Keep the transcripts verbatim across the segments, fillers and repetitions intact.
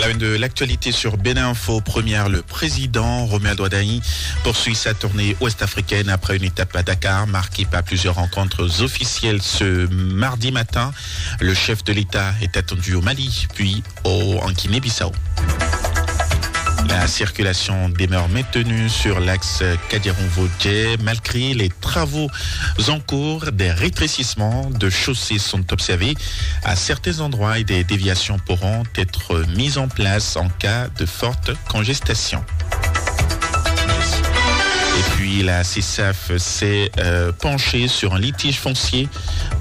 À une de l'actualité sur Bénin Info Première, le président Romuald Wadagni poursuit sa tournée ouest-africaine après une étape à Dakar marquée par plusieurs rencontres officielles ce mardi matin. Le chef de l'État est attendu au Mali, puis au, en Guinée-Bissau. La circulation demeure maintenue sur l'axe Kadiaronvo-Djé malgré les travaux en cours. Des rétrécissements de chaussées sont observés à certains endroits et des déviations pourront être mises en place en cas de forte congestation. Et puis la C S A F s'est euh, penchée sur un litige foncier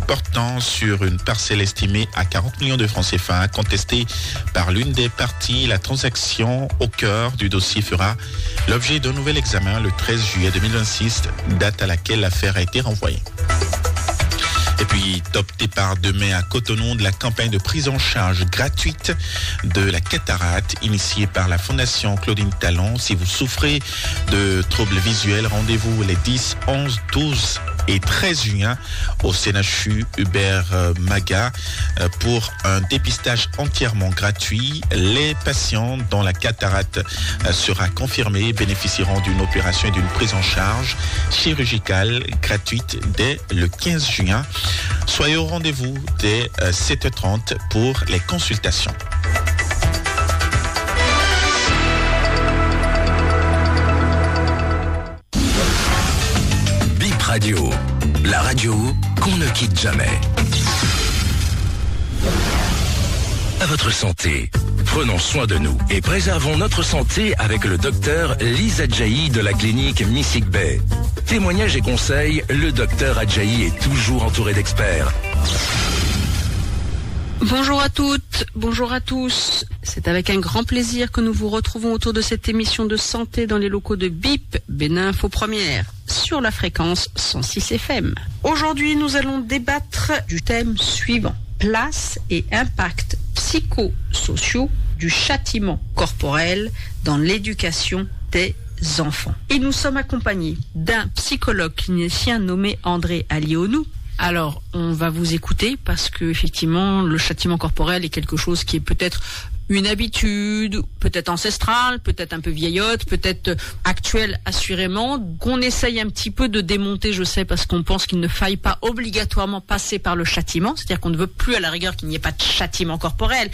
portant sur une parcelle estimée à quarante millions de francs C F A contestée par l'une des parties. La transaction au cœur du dossier fera l'objet d'un nouvel examen le treize juillet deux mille vingt-six, date à laquelle l'affaire a été renvoyée. Et puis, top départ demain à Cotonou de la campagne de prise en charge gratuite de la cataracte initiée par la Fondation Claudine Talon. Si vous souffrez de troubles visuels, rendez-vous les dix, onze, douze et treize juin au C N H U Hubert euh, Maga euh, pour un dépistage entièrement gratuit. Les patients dont la cataracte euh, sera confirmée bénéficieront d'une opération et d'une prise en charge chirurgicale gratuite dès le quinze juin. Soyez au rendez-vous dès euh, sept heures trente pour les consultations. Bip Radio, la radio qu'on ne quitte jamais. À votre santé. Prenons soin de nous et préservons notre santé avec le docteur Lisa Djaï de la clinique Missig Bay. Témoignages et conseils, le docteur Adjaï est toujours entouré d'experts. Bonjour à toutes, bonjour à tous. C'est avec un grand plaisir que nous vous retrouvons autour de cette émission de santé dans les locaux de Bip, Bénin Info Première, sur la fréquence cent six F M. Aujourd'hui, nous allons débattre du thème suivant : place et impact psychosociaux du châtiment corporel dans l'éducation des enfants. Et nous sommes accompagnés d'un psychologue clinicien nommé André Alionou. Alors, on va vous écouter parce que, effectivement, le châtiment corporel est quelque chose qui est peut-être une habitude, peut-être ancestrale, peut-être un peu vieillotte, peut-être actuelle, assurément, qu'on essaye un petit peu de démonter, je sais, parce qu'on pense qu'il ne faille pas obligatoirement passer par le châtiment, c'est-à-dire qu'on ne veut plus, à la rigueur, qu'il n'y ait pas de châtiment corporel.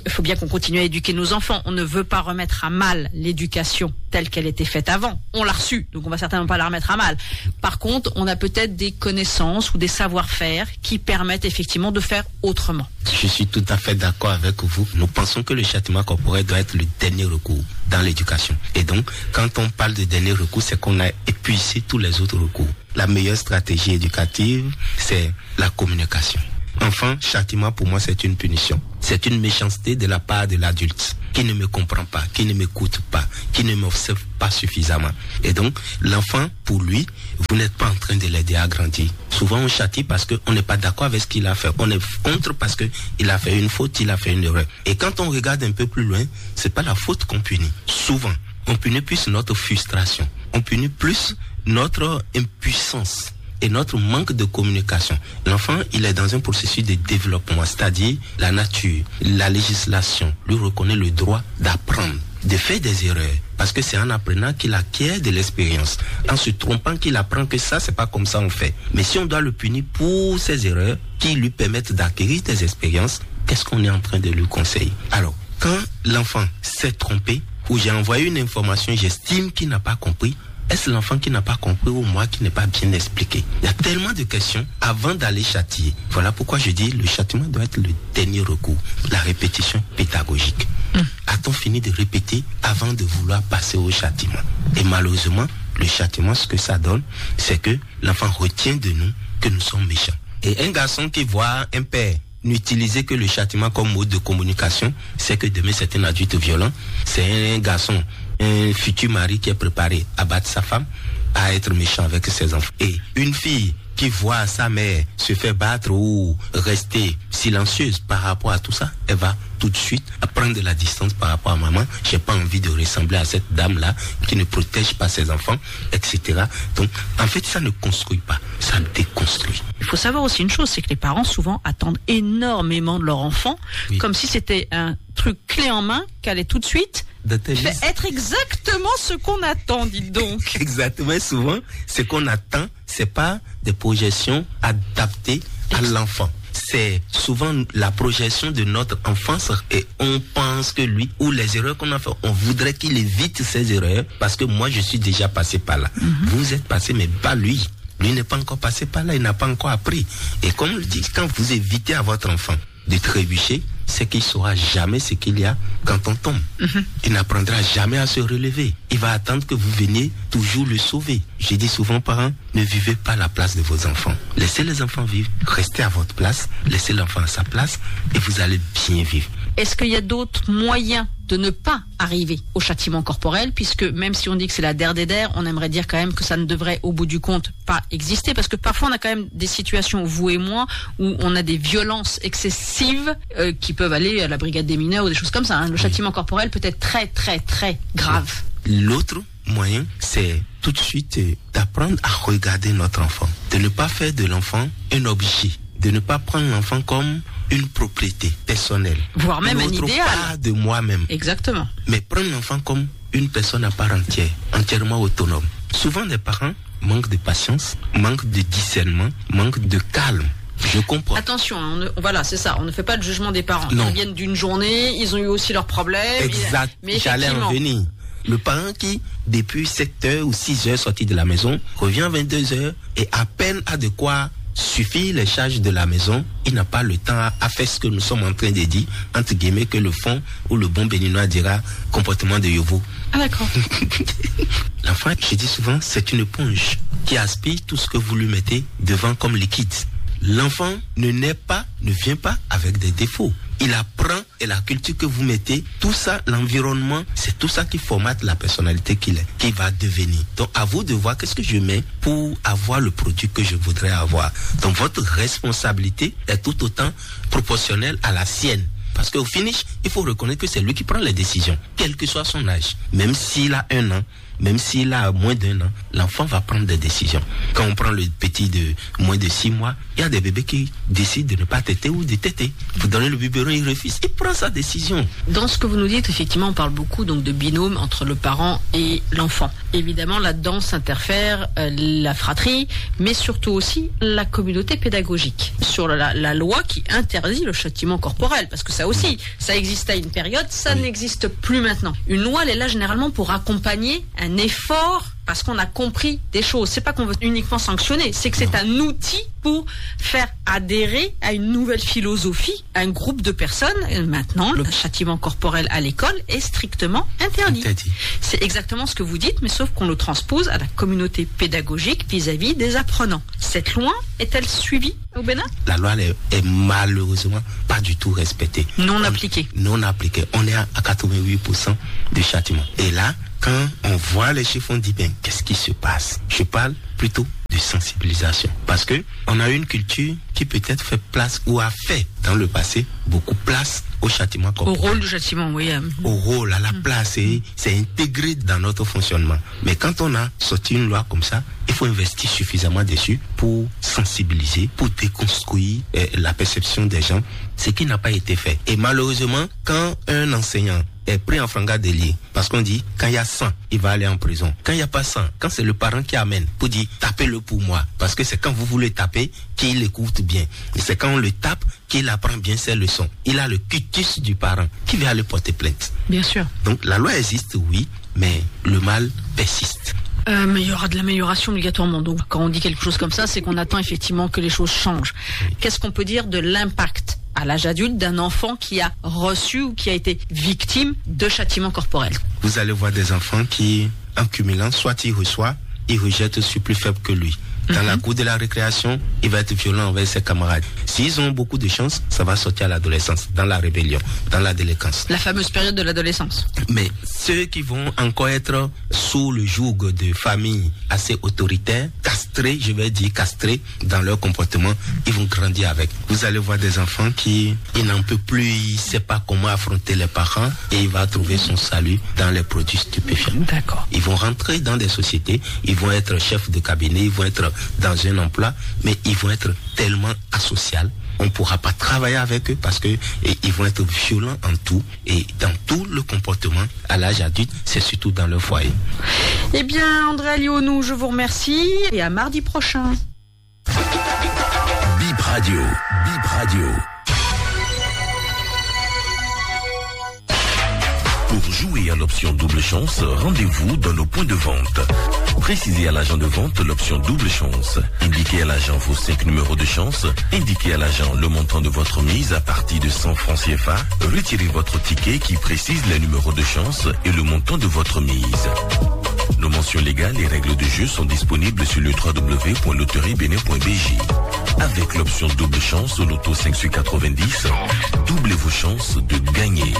Il faut bien qu'on continue à éduquer nos enfants. On ne veut pas remettre à mal l'éducation telle qu'elle était faite avant. On l'a reçue, donc on va certainement pas la remettre à mal. Par contre, on a peut-être des connaissances ou des savoir-faire qui permettent effectivement de faire autrement. Je suis tout à fait d'accord avec vous. Nous pensons que le châtiment corporel doit être le dernier recours dans l'éducation. Et donc, quand on parle de dernier recours, c'est qu'on a épuisé tous les autres recours. La meilleure stratégie éducative, c'est la communication. Enfin, châtiment pour moi, c'est une punition. C'est une méchanceté de la part de l'adulte qui ne me comprend pas, qui ne m'écoute pas, qui ne m'observe pas suffisamment. Et donc, l'enfant, pour lui, vous n'êtes pas en train de l'aider à grandir. Souvent, on châtie parce qu'on n'est pas d'accord avec ce qu'il a fait. On est contre parce qu'il a fait une faute, il a fait une erreur. Et quand on regarde un peu plus loin, c'est pas la faute qu'on punit. Souvent, on punit plus notre frustration. On punit plus notre impuissance et notre manque de communication. L'enfant, il est dans un processus de développement, c'est-à-dire la nature, la législation lui reconnaît le droit d'apprendre, de faire des erreurs, parce que c'est en apprenant qu'il acquiert de l'expérience, en se trompant qu'il apprend que ça, c'est pas comme ça on fait. Mais si on doit le punir pour ses erreurs qui lui permettent d'acquérir des expériences, qu'est-ce qu'on est en train de lui conseiller ? Alors, quand l'enfant s'est trompé, ou j'ai envoyé une information, j'estime qu'il n'a pas compris, est-ce l'enfant qui n'a pas compris ou moi qui n'ai pas bien expliqué ? Il y a tellement de questions avant d'aller châtier. Voilà pourquoi je dis le châtiment doit être le dernier recours, la répétition pédagogique. A-t-on fini de répéter avant de vouloir passer au châtiment ? Et malheureusement, le châtiment, ce que ça donne, c'est que l'enfant retient de nous que nous sommes méchants. Et un garçon qui voit un père n'utiliser que le châtiment comme mode de communication, c'est que demain c'est un adulte violent, c'est un garçon, un futur mari qui est préparé à battre sa femme, à être méchant avec ses enfants. Et une fille qui voit sa mère se faire battre ou rester silencieuse par rapport à tout ça, elle va tout de suite prendre de la distance par rapport à maman. J'ai pas envie de ressembler à cette dame-là qui ne protège pas ses enfants, et cetera. Donc, en fait, ça ne construit pas, ça déconstruit. Il faut savoir aussi une chose, c'est que les parents souvent attendent énormément de leur enfant, oui, comme si c'était un clé en main, qu'elle est tout de suite Dans tes fait listes. Être exactement ce qu'on attend, dites donc. Exactement, souvent, ce qu'on attend, c'est pas des projections adaptées à l'enfant. C'est souvent la projection de notre enfance et on pense que lui ou les erreurs qu'on a fait, on voudrait qu'il évite ces erreurs parce que moi je suis déjà passé par là. Vous êtes passé, mais pas lui. Lui n'est pas encore passé par là, il n'a pas encore appris. Et comme on le dit, quand vous évitez à votre enfant de trébucher, c'est qu'il saura jamais ce qu'il y a quand on tombe. Il n'apprendra jamais à se relever. Il va attendre que vous veniez toujours le sauver. Je dis souvent, parents, ne vivez pas la place de vos enfants. Laissez les enfants vivre, restez à votre place, laissez l'enfant à sa place et vous allez bien vivre. Est-ce qu'il y a d'autres moyens de ne pas arriver au châtiment corporel, puisque même si on dit que c'est la der des der, on aimerait dire quand même que ça ne devrait au bout du compte pas exister, parce que parfois on a quand même des situations, vous et moi, où on a des violences excessives euh, qui peuvent aller à la brigade des mineurs ou des choses comme ça, hein. Le châtiment corporel peut être très, très, très grave. L'autre moyen, c'est tout de suite euh, d'apprendre à regarder notre enfant, de ne pas faire de l'enfant un objet, de ne pas prendre l'enfant comme une propriété personnelle, Voire même une un autre idéal. Part de moi-même, Exactement. Mais prendre l'enfant comme une personne à part entière, entièrement autonome. Souvent, les parents manquent de patience, manquent de discernement, manquent de calme. Je comprends. Attention, hein, on ne- voilà, c'est ça. On ne fait pas le jugement des parents. Non. Ils viennent d'une journée, ils ont eu aussi leurs problèmes. Exact. Mais J'allais en effectivement, venir. Le parent qui, depuis sept heures ou six heures sorti de la maison, revient à vingt-deux heures et à peine a de quoi suffire les charges de la maison, il n'a pas le temps à, à faire ce que nous sommes en train de dire, entre guillemets, que le fond ou le bon béninois dira comportement de yovo. Ah, d'accord. L'enfant, je dis souvent, c'est une éponge qui aspire tout ce que vous lui mettez devant comme liquide. L'enfant ne naît pas, ne vient pas avec des défauts. Il apprend et la culture que vous mettez, tout ça, l'environnement, c'est tout ça qui formate la personnalité qu'il est, qu'il va devenir. Donc, à vous de voir qu'est-ce que je mets pour avoir le produit que je voudrais avoir. Donc, votre responsabilité est tout autant proportionnelle à la sienne. Parce qu'au finish, il faut reconnaître que c'est lui qui prend les décisions, quel que soit son âge. Même s'il a un an, même s'il a moins d'un an, l'enfant va prendre des décisions. Quand on prend le petit de moins de six mois, il y a des bébés qui décident de ne pas téter ou de téter. Vous donnez le biberon, il refuse. Il prend sa décision. Dans ce que vous nous dites, effectivement, on parle beaucoup donc de binôme entre le parent et l'enfant. Évidemment, là-dedans s'interfère euh, la fratrie, mais surtout aussi la communauté pédagogique. Sur la, la loi qui interdit le châtiment corporel, parce que ça aussi, ça existait à une période, ça n'existe plus maintenant. Une loi, elle est là généralement pour accompagner un effort, parce qu'on a compris des choses. C'est pas qu'on veut uniquement sanctionner, c'est que c'est un outil pour faire adhérer à une nouvelle philosophie un groupe de personnes. Euh, Maintenant, le châtiment corporel à l'école est strictement interdit. Interdit. C'est exactement ce que vous dites, mais sauf qu'on le transpose à la communauté pédagogique vis-à-vis des apprenants. Cette loi est-elle suivie au Bénin ? La loi elle est, est malheureusement pas du tout respectée. Non On- appliquée. Non appliquée. On est à, à quatre-vingt-huit pour cent de châtiment. Et là, quand on voit les chiffres, on dit, ben, qu'est-ce qui se passe ? Je parle plutôt de sensibilisation. Parce que on a une culture qui peut-être fait place ou a fait dans le passé beaucoup place au châtiment Au corporel. Rôle du châtiment, oui. euh. Au rôle, à la place, et c'est intégré dans notre fonctionnement. Mais quand on a sorti une loi comme ça, il faut investir suffisamment dessus pour sensibiliser, pour déconstruire euh, la perception des gens, ce qui n'a pas été fait. Et malheureusement, quand un enseignant est pris en flagrant délit, parce qu'on dit, quand il y a cent, il va aller en prison. Quand il n'y a pas cent, quand c'est le parent qui amène pour dire, tapez-le pour moi, parce que c'est quand vous voulez taper qu'il écoute bien. Et c'est quand on le tape qu'il apprend bien ses leçons. Il a le quitus du parent qui vient aller porter plainte. Bien sûr. Donc la loi existe, oui, mais le mal persiste. Euh, mais il y aura de l'amélioration obligatoirement. Donc, quand on dit quelque chose comme ça, c'est qu'on attend effectivement que les choses changent. Qu'est-ce qu'on peut dire de l'impact à l'âge adulte d'un enfant qui a reçu ou qui a été victime de châtiment corporel ? Vous allez voir des enfants qui, en cumulant, soit il reçoit, il rejette celui plus faible que lui. Dans la cour de la récréation, il va être violent envers ses camarades. S'ils ont beaucoup de chance, ça va sortir à l'adolescence, dans la rébellion, dans la délinquance. La fameuse période de l'adolescence. Mais ceux qui vont encore être sous le joug de familles assez autoritaires, castrés, je vais dire castrés dans leur comportement, ils vont grandir avec. Vous allez voir des enfants qui, il n'en peut plus, il ne sait pas comment affronter les parents et il va trouver son salut dans les produits stupéfiants. D'accord. Ils vont rentrer dans des sociétés, ils vont être chefs de cabinet, ils vont être dans un emploi, mais ils vont être tellement asocial, On ne pourra pas travailler avec eux parce que, et ils vont être violents en tout et dans tout le comportement à l'âge adulte, c'est surtout dans leur foyer. Eh bien, André Alionou, je vous remercie et à mardi prochain. Bip Radio, Bip Radio. Pour jouer à l'option double chance, rendez-vous dans nos points de vente. Précisez à l'agent de vente l'option double chance. Indiquez à l'agent vos cinq numéros de chance. Indiquez à l'agent le montant de votre mise à partir de cent francs C F A. Retirez votre ticket qui précise les numéros de chance et le montant de votre mise. Nos mentions légales et règles de jeu sont disponibles sur le trois W point loterie bénin point B J. Avec l'option double chance au loto cinq sur quatre-vingt-dix, doublez vos chances de gagner.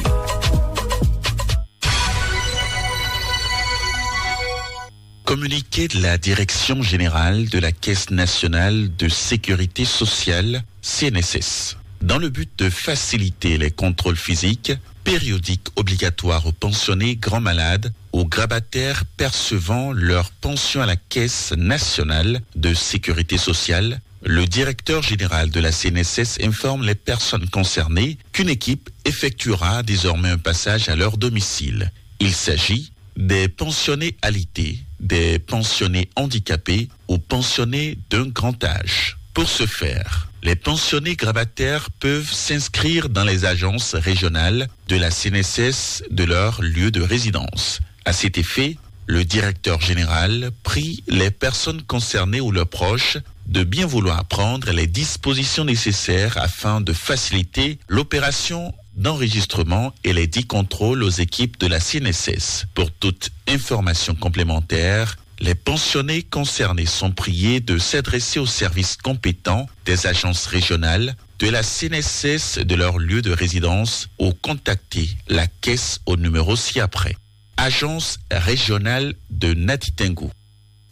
Communiqué de la Direction générale de la Caisse nationale de sécurité sociale, C N S S. Dans le but de faciliter les contrôles physiques, périodiques obligatoires aux pensionnés grands malades, aux grabataires percevant leur pension à la Caisse nationale de sécurité sociale, le directeur général de la C N S S informe les personnes concernées qu'une équipe effectuera désormais un passage à leur domicile. Il s'agit des pensionnés alité, des pensionnés handicapés ou pensionnés d'un grand âge. Pour ce faire, les pensionnés grabataires peuvent s'inscrire dans les agences régionales de la C N S S de leur lieu de résidence. À cet effet, le directeur général prie les personnes concernées ou leurs proches de bien vouloir prendre les dispositions nécessaires afin de faciliter l'opération d'enregistrement et les dix contrôles aux équipes de la C N S S. Pour toute information complémentaire, les pensionnés concernés sont priés de s'adresser aux services compétents des agences régionales de la C N S S de leur lieu de résidence ou contacter la caisse au numéro ci-après. Agence régionale de Natitingou,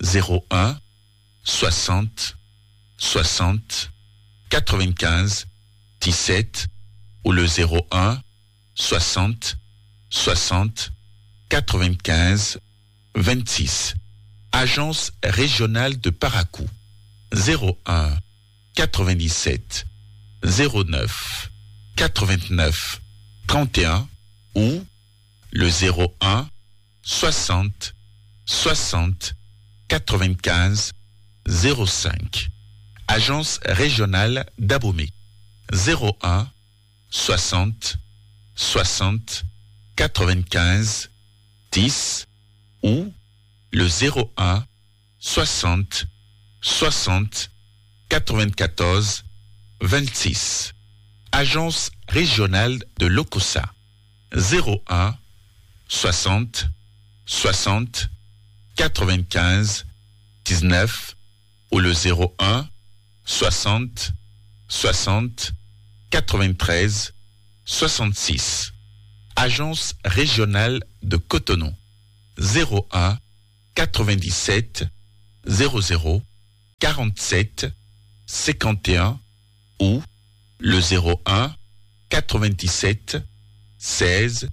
zéro un, soixante, soixante, quatre-vingt-quinze, dix-sept ou le zéro un, soixante, soixante, quatre-vingt-quinze, vingt-six. Agence régionale de Parakou, zéro un, quatre-vingt-dix-sept, zéro neuf, quatre-vingt-neuf, trente et un ou le zéro un, soixante, soixante, quatre-vingt-quinze, zéro cinq. Agence régionale d'Abomey, zéro un, soixante, soixante, quatre-vingt-quinze, dix ou le zéro un, soixante, soixante, quatre-vingt-quatorze, vingt-six. Agence régionale de Lokossa, zéro un, soixante, soixante, quatre-vingt-quinze, dix-neuf ou le zéro un, soixante, soixante, quatre-vingt-treize, soixante-six. Agence régionale de Cotonou, zéro un, quatre-vingt-dix-sept, zéro zéro, quarante-sept, cinquante et un ou le zéro un, quatre-vingt-dix-sept, seize,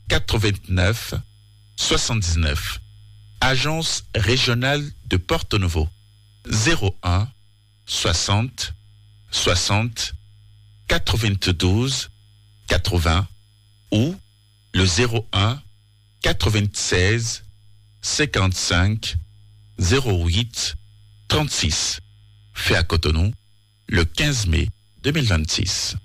quatre-vingt-neuf, soixante-dix-neuf. Agence régionale de Porto Novo, zéro un, soixante, soixante, quatre-vingt-douze, quatre-vingts ou le zéro un, quatre-vingt-seize, cinquante-cinq, zéro huit, trente-six. Fait à Cotonou, le quinze mai deux mille vingt-six.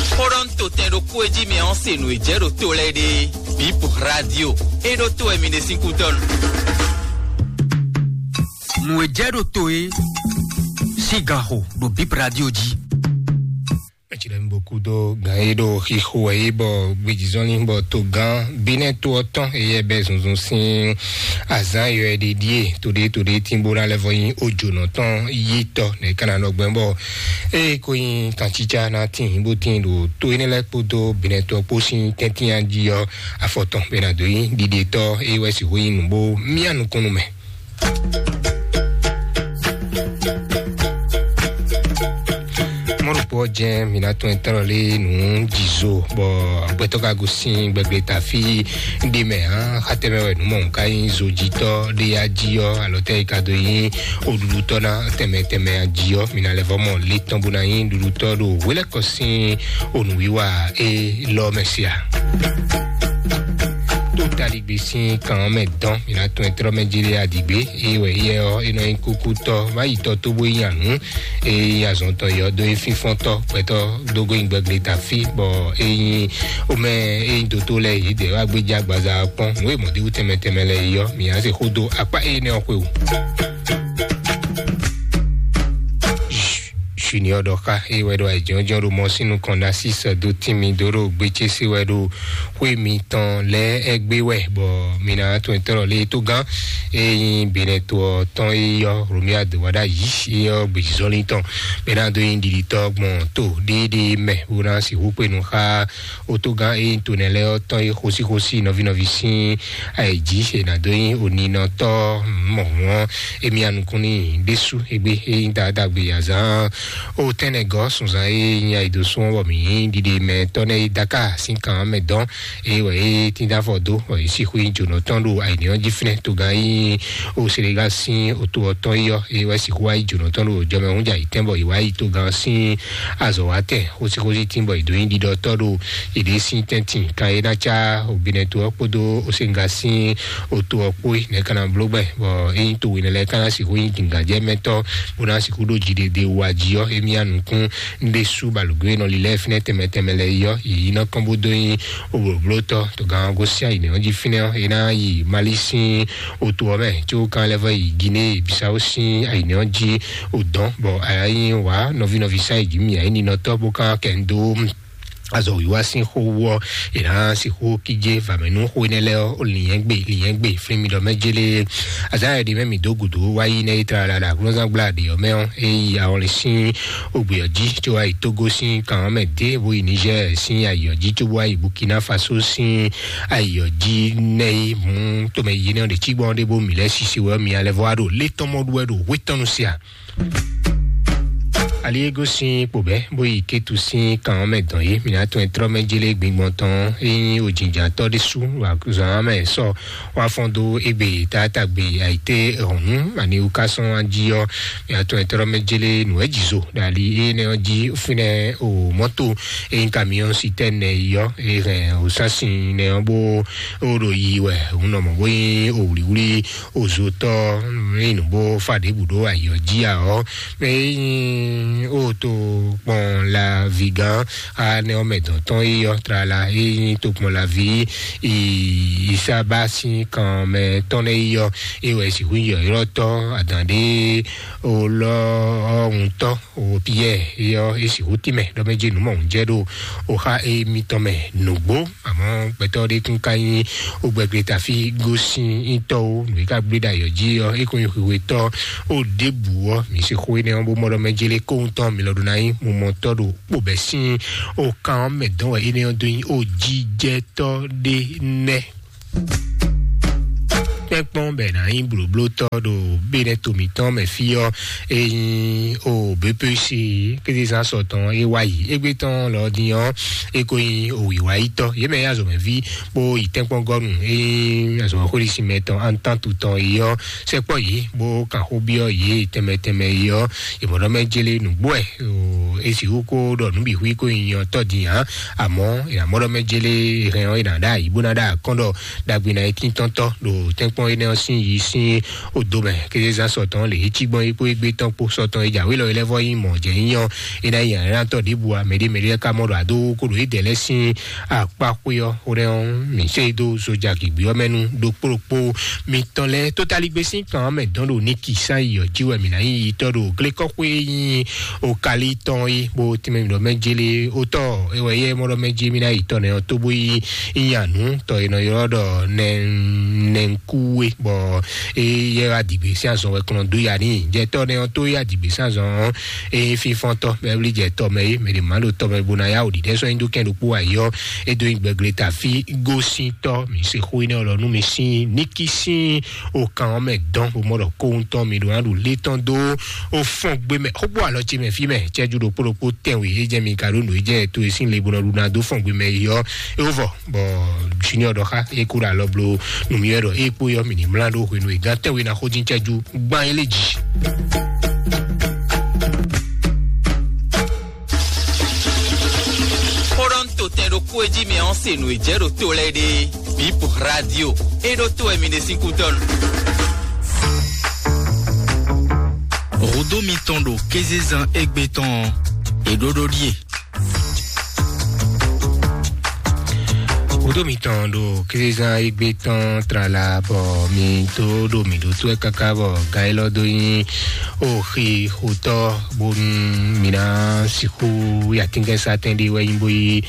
Xó ɖɔ nú to tɛn ɖokpó e jí mi ɔ́ se nǔ e jɛ ɖo to lɛ́ɛ ɖe. Bip Radio. É ɖó to wɛ mi ɖe sín kútɔ́ nu. Nǔ e jɛ ɖo to é sín gan xo ɖo Bip Radio jí. Eci ɖe mi bo kú dó gan e ɖo xixo wɛ é bɔ gbejizɔnlin bɔ togán Benɛ́ to ɔ́ tɔn eyɛ bɛ zunzun sín azǎn yɔ ɛ ɖe ɖíe to ɖé to ɖé tín bó ná lɛ́ vɔ nyí ojǒnɔ tɔn yi tɔ nɛ é ka ná nɔ gbɛn bɔ eye ko nyí tancícá ná tín bó tín ɖo to énɛ́ lɛ́ɛ kpódó Benɛ́ to ɔ́ kpó sín tɛ́ntin jí ɔ́ afɔ tɔn bɛ ná dó nyí ɖiɖetɔ́ é wɛ sixú nyí nǔ bó myá nukúnnú mɛ. Mɔnu Kpɔ́ jɛ́n mǐ ná tɔn tɔ́lɔ lé nǔ jǐzo, bɔ agbɛtɔ́ ka gosín gbɛgbɛ ta fí ɖé mɛ hã, xatɛmɛ wɛ nǔ mɔ nǔ ka nyí zojitɔ́ ɖé ya jí ɔ́, alɔ tɛ́ yi ka do nyí oɖuɖutɔ́ ná tɛmɛ tɛmɛ jí ɔ́, mǐ ná lɛ́ vɔ mɔ lé tɔn bó ná nyí ɖuɖutɔ́ ɖo hwelɛ́kɔ sín onǔwiwa élɔ́ mɛ sia. Tó taligbe sín kan ɔ́ mɛ dɔn, mǐ ná tɔn tɔ́lɔ mɛ jí lé aɖǐgbé, é wɛ yɛ ɔ́, é nɔ nyí kúkútɔ́, má yi tɔ tó bó yi nya nǔ. Eye azɔn tɔn yɔ dó yi fínfɔ́ntɔ́ gbɛtɔ́ dógó nyi gbɛgbɛ ta fí, bɔ eyin omɛ eyin dótó lɛ yě dɛ wá gbéjá agbaza kpɔn nǔ e mɔdéwú tɛmɛ tɛmɛ lɛ yɔ mǐ á se xó dó akpá énɛ́ ɔ́ xwe o. Junior ɖɔ xá eye wɛ ɖo ayǐjɔ́jɔ́ ɖo mɔ sín nukɔn ná sísɛ dó tín mi dó ɖo gbétsé sé wɛ ɖo xwé mitɔn lɛ́ɛ ɛgbé wɛ, bɔ mi ná tɔn tɔ́lɔ lé tó gán. Eye nyí Benɛto ɔ́ tɔn e yɔ Romia do wá ɖ'ayǐ e yɔ gbèjìzɔ́lin tɔn bɛ ná dó nyí ɖiɖitɔ́ gbɔn tó ɖéɖé mɛ bó ná sixú kpe nú xá otógán e nyí tonɛ lɛ́ɛ ɔ́ tɔn e xósíxósí nɔví nɔví sín ayǐjí e ná dó nyí oninɔtɔ́ mɔ̌hun ɔ́. Emi anukún n'i ɖésú égbé e nyí taatagbe azán o tɛnɛgɔ́ sunzan e nyí ayidosún ɔ́ bɔ mǐ nyí ɖiɖe mɛ tɔ́ nɛ́ e Dakar sín kan ɔ́ mɛ dɔn. Eye wɛ é tín dó afɔ dó, bɔ yě sixú nyí jǒnɔ tɔn ɖo ayǐní ɔ́ jí fínɛ́. Togán nyí o Senegal sín oto ɔ́ tɔn yi ɔ́, eye wɛ sixú wá yi jǒnɔ tɔn ɖo jɔmɛhún jɛ ayǐtɛn, bɔ yě wá yi togán sín azɔ̌watɛn xósíxósí tín, bɔ yě dó nyí ɖiɖɔtɔ́ ɖo yěɖée sín tɛ́ntin. Kan e ná cá o Benɛto ɔ́ kpódó o Senegal sín oto ɔ́ kpó é nɛ̌ ka ná bló gbɛn, bɔ é nyí to wěnɛ lɛ́ɛ ka ná sixú nyí dǐngǎnjɛmɛtɔ́ bó ná sixú ɖó jiɖeɖe wa jí ɔ́, émí anukún ɖésú balǔgbé e nɔ lilɛ fínɛ́ tɛnmɛ tɛnmɛ lɛ́ɛ yi ɔ́, yě yi nɔ kɔn bó dó nyí oblǒblótɔ́. Togán gosín ayǐnɛ́ ɔ́ jí fínɛ́ ɔ́, é ná yi Mali sín oto ɔ́ mɛ, có kan lɛ́ vɔ yi Guinée Bissau sín ayǐnɛ́ ɔ́ jí o dɔn, bɔ ayá nyí wǎ nɔví nɔví sá yi jí mì ayé ninɔtɔ́ bó kan kɛ ń dó azɔ wíwá sín xó wú ɔ́, è nǎ sixú kíjé vǎmɛnú xó énɛ́ lɛ́ɛ ɔ́, lǐnyɛ́gbe lǐnyɛ́gbe flín mi ɖɔ mɛ jélé. Azǎ ɛɖi mɛ mi dó gǔdo wá yi nɛ́ é tlala ɖo aklúnɔzán gbla ɖě ɔ́ mɛ ɔ́, é yi awɔnlin sín ogbè ɔ́ jí, có wá yi Tógó sín kan ɔ́ mɛ dé, bó yi Nizɛ́ɛ sín ayǐ ɔ́ jí, có bó wá yi Bukina Faso sín ayǐ ɔ́ jí nɛ́ é mú tomɛ yi nɛ́ ɔ́ ɖě cí gbɔn ɖé bó mǐ lɛ́ sisi wɛ ɔ́, mi alɛ vɔ wá ɖo lé tɔn mɔ ɖu wɛ ɖo hwé tɔn nu sia. Ali e gosín kpo bɛ́ bó yi Kétu sín kan ɔ́ mɛ dɔn yé, mǐ ná tɔn ɛ tlɔ́ mɛ jélé gbingbɔn tɔn é nyí òjìjǎtɔ́ ɖésú wá zɔn ɔ́ mɛ sɔ wá fɔ́n dó égbé táátagbe ayǐté hɔ̌nnu, ani wú ká sɔ́n wá jí ɔ́, mǐ ná tɔn ɛ tlɔ́ mɛ jélé nǔ wɛ jǐzo ɖo ali énɛ́ ɔ́ jí fínɛ́ o mɔ́to e nyí kamiɔ́n sitɛ́nɛ yi ɔ́, e hɛn òsánsin nɛ ɔ́ bó ó ɖo yi wɛ, òun nɔ mɔ̌ bó nyí òwlǐwlí ozotɔ́, nyí nǔ bó fa ɖěbǔ ɖó ayǐ ɔ́ jí ǎ ɔ́, mɛ e nyí o to kpɔn la vigán anɛ ɔ́ mɛ dɔn tɔn yi ɔ́, tlala e nyí to kpɔn la ví Isaba sín kan mɛ tɔn nɛ yi ɔ́, e wɛ sixú yi ɔ́ tɔ́ adǎn ɖé o lɔ ɔ́ ŋutɔ́ o Piyɛ́ɛ e ɔ́, e sixú tínmɛ ɖɔ mɛ jí nǔ mɔ̌hun jɛ ɖo o xá émítɔn mɛ nǔgbó. Àmọ́ gbɛtɔ́ ɖé kún ka nyí ogbɛgbɛ tafí gosín ítɔ́ ó, nǔ e ka gblé ɖo ayɔ jí ɔ́, é kún nyí xwixwetɔ́ ó ɖěbǔ ɔ́, mǐ se xó énɛ́ ɔ́ bó mɔ ɖɔ mɛ jélé kóhun tɔn mi lɔ ɖó ná nyí mumɔtɔ́ ɖo kpobɛ́ sín o kan ɔ́ mɛ dɔn wɛ énɛ́ ɔ́ dó nyí o jijɛtɔ́ ɖé nɛ́. Kpɛ́kpɔ́n bɛ ná nyí blǒblótɔ́ ɖo Benɛto mǐtɔn mɛ fí ɔ́, e nyí o B P C kézezán sɔtɔn e wá yi égbé tɔn lɔ din ɔ́, e ko nyí o wǐwáyítɔ́. Yě mɛ nyí azɔ̌mɛví bó yi tɛ́nkpɔ́ngɔ́nu e nyí azɔ̌mɛxwéɖisin mɛ tɔn Antantu tɔn yi ɔ́, sɛkpɔ́ yě bó kan xó byɔ́ yě tɛnmɛ tɛnmɛ yi ɔ́, yě mɔ ɖɔ mɛ jélé nǔgbó wɛ. E sixú ko ɖɔ nǔ bǐ xwí ko nyi nyɔ tɔ́ din ǎ, àmọ́ è nǎ mɔ ɖɔ mɛ jélé hɛn ɔ́, è nǎ ɖó ayǐ bó ná ɖó akɔ́n ɖɔ ɖagbe ná yi tíntɔ́ntɔ́ ɖo tɛ́nkpɔ́n énɛ́ ɔ́ sín yi sín odo mɛ. Kézezán sɔtɔn lě é cí gbɔn é kpó égbé tɔn kpó sɔtɔn é jǎwe lɔ é lɛ́ vɔ nyí mɔ̌ jɛ nyí ɔ́, é ná yi nyǎnylá tɔ́ ɖěbǔ ǎ. Mɛɖé mɛɖé lɛ́ ka mɔ ɖɔ adó kóɖo é dɛ̌ lɛ́ɛ sín akpá xwé ɔ́, xó ɖɛ́ ɔ́, mǐ sɛ́ yi dó soja gěgbé ɔ́ mɛ nú ɖokpó ɖokpó mitɔn lɛ́ɛ. Tótaligbé sín kan ɔ́ mɛ dɔn ɖo Niki sán yi ɔ́ jí wɛ mǐ ná nyí yitɔ́ ɖo glékɔ́xwé e nyí Okali tɔn é, bó tínmɛ mǐ ɖɔ mɛ jélé ótɔ́ é wɛ yɛ mɔ ɖɔ mɛ jí mí ná yi tɔ́ nɛ ɔ́ tó bó yi nyanu tɔ e nɔ ylɔ́ ɖɔ nɛnɛnkú we bɔ eye wá dìgbè sín azɔn wɛ kplɔn dó ya ní jɛtɔ nɛ ɔ́ tó ya dìgbè sín azɔn ɔ́. Eye fífɔntɔ mɛ wlí jɛtɔ mɛ yé mɛ ɖe má ɖo tɔ mɛ bó ná yá wò ɖiɖɛ sɔ nyi dó kɛn ɖokpó ayɔ. Edo nyi gbɛgble ta fí gosíntɔ mi se xó énɛ́ lɔ nú mi sín níkí sín o kan ɔ́ mɛ dɔn bó mɔ ɖɔ kóhun tɔn mi ɖo ná ɖo lé tɔn dó o fɔn gbé mɛ xógbó alɔ ce mɛ fí mɛ cɛjú ɖokpó ɖokpó tɛn wè é jɛ mi ka ɖó nǔ é jɛ to e sín le bó nɔ ɖu ná dó fɔn gbé mɛ yi ɔ́. É wó vɔ bɔ junior ɖɔ xá é kó ɖo alɔ blo nǔmí wɛ ɖɔ é kpó yɔ mì ní mlá ɖó hwenu e gán tɛnwe ná xó dín cɛjú gbán é lé jì. Xó ɖɔ ń to tɛn ɖokpó e jí mɛ ɔ́ se nǔ e jɛ ɖo to lɛ́ɛ ɖe. Bip radio é ɖó to wɛ mi ɖe sín kútɔ́nu. Rodo mitɔn ɖo kézezan égbé tɔn ɔ́, è ɖó ɖó ɖíe. Kudo mitɔn ɖo kézezan égbé tɔn tlala bɔ mi tó ɖo mi ɖo tó ɛ káká bɔ gan élɔ́ dó nyí oxi xotɔ bónú mi ná sixú yatínkɛnsatɛn ɖé wɛ nyí bó yí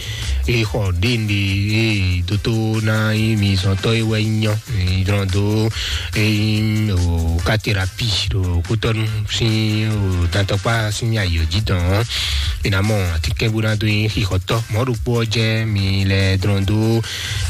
é xɔ ɖéǹɖe é dótó ná nyí mi zɔntɔ́ é wɛ nyí nyɔ mi dlɔn dó é nyí o katerapi ɖo kútɔnu sín o dantɔkpa sín ayɔ jí dɔn ɔ́. Mi ná mɔ atínkɛn bó ná dó nyí xixɔtɔ́ mɔ̌ ɖokpó ɔ́ jẹ́ mi lɛ dlɔn dó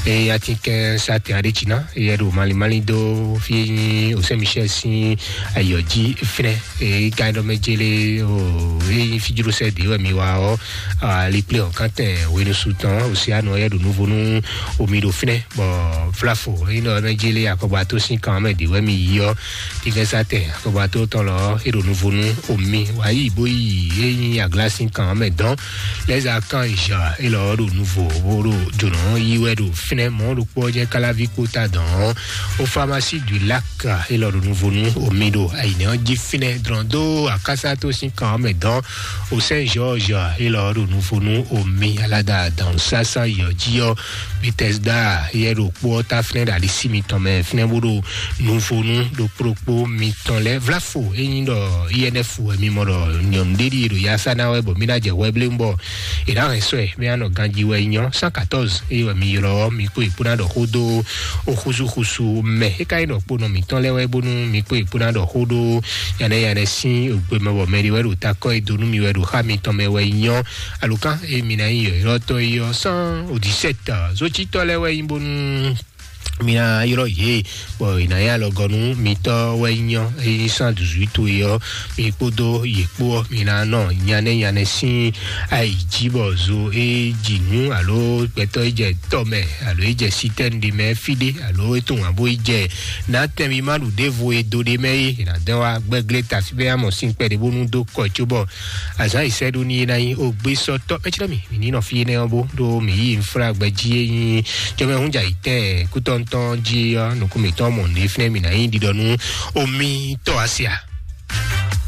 é atínkɛn sátɛn aɖé jí ná é yɛ ɖo malimali dó fí é nyí osɛ́ michel sín ayɔ jí fínɛ́. Èyí ka ɖɔ mɛ jele o èyí fíjúɖósɛ dě wɛ mi wa ɔ́. Aliplé ɔ̀kántɛn hwenusu tɔn òsíanu ɔ́ yɛ ɖo nuvo nú omi ɖo fínɛ́ bɔ flafo èyí nɔ mɛ jele akɔgba tó sín kan mɛ dě wɛ mi yi ɔ́. Tigɛsatɛ akɔgba tó tɔn lɔ é ɖo nuvo nú omi wǎ yi bó yi é nyí aglá sín kan mɛ dɔn. Lɛza kan ja é lɔ ɖo nuvo bó ɖo jǒnɔ yi wɛ ɖo fínɛ́ mɔ̌ ɖokpó ɔ́ jẹ́ káláví kpóta dɔn ɔ́. O pharmacie du lac é lɔ ɖo nuvo nú omi ɖo ayǐnɛ ɔ́ jí fínɛ́ dlɔn dó akásá tó sín kan ɔ́ mɛ dɔn. O sɛn george é lɔ ɖo nuvo nú omi alada dɔn sásán yɔ jí ɔ́. Bethesda yɛ ɖo kpó ɔ́ ta fínɛ́ ɖo alisí mitɔn mɛ fínɛ́ bó ɖo nuvo nú ɖokpó ɖokpó mitɔn lɛ́ɛ vlafo é nyí ɖɔ inf wɛ mi mɔ ɖɔ nyɔ̌nu ɖé ɖíe ɖo yasá ná wɛ bɔ mí ná jɛ hwɛ bléwún bɔ è nǎ hɛn sɔ́ ɛ mɛ anɔ ganjí wɛ nyɔ cent quatorze eye wɛ mi ylɔ́ mi kpó ìkpó ná ɖɔ xó dó oxúsúxúsú mɛ é ka nyí ɖɔ kpónɔ mǐtɔn lɛ́ɛ wɛ bónú mi kpó ìkpó ná ɖɔ xó ɖó yanɛ yanɛ sín ògbé mɛ bɔ mɛ ɖé wɛ ɖo takɔ e dó nú mi wɛ ɖo xá mitɔn mɛ wɛ nyɔ alukán e mi ná nyí yɔ̌yrɔ́tɔ́ é ɔ́ sán òdìsɛ́tà zócítɔ́ lɛ́ɛ wɛ nyí bónú mi ná ylɔ́ yě bɔ è nǎ nyí alɔgɔ́nú mitɔ́ wɛ nyɔ é nyí sán duzwító é ɔ́. Mi kpódó yě kpó ɔ́ mi ná nɔ nyanɛ́ nyanɛ́ sín ayi jí bɔ zo é ji nú alo gbɛtɔ́ é jɛ tɔ mɛ alo é jɛ sitɛ́nu ɖé mɛ fí ɖé alo é tunwun abo é jɛ nátɛn mi má ɖu ɖěvo e do ɖé mɛ é è nǎ dɛn wá gbɛ́glé tafi bɛ́ amɔ sín kpɛɖé bónú dó kɔ cóbɔ azǎn yi sɛ́ ɖó ní é ná nyí ó gbé sɔ́ tɔ́ mɛ cí mi mi ní nɔ fí énɛ́ ɔ́ bó ɖó mi yí nflá gbɛ jí é nyí jɔmɛ hún jà yi tɛ́ kútɔ́ntɔ́ jí ɔ́ nukún mǐtɔn mɔ nǔ é fínɛ́ mi ná nyí ɖiɖɔ nú omi tɔ́ asia.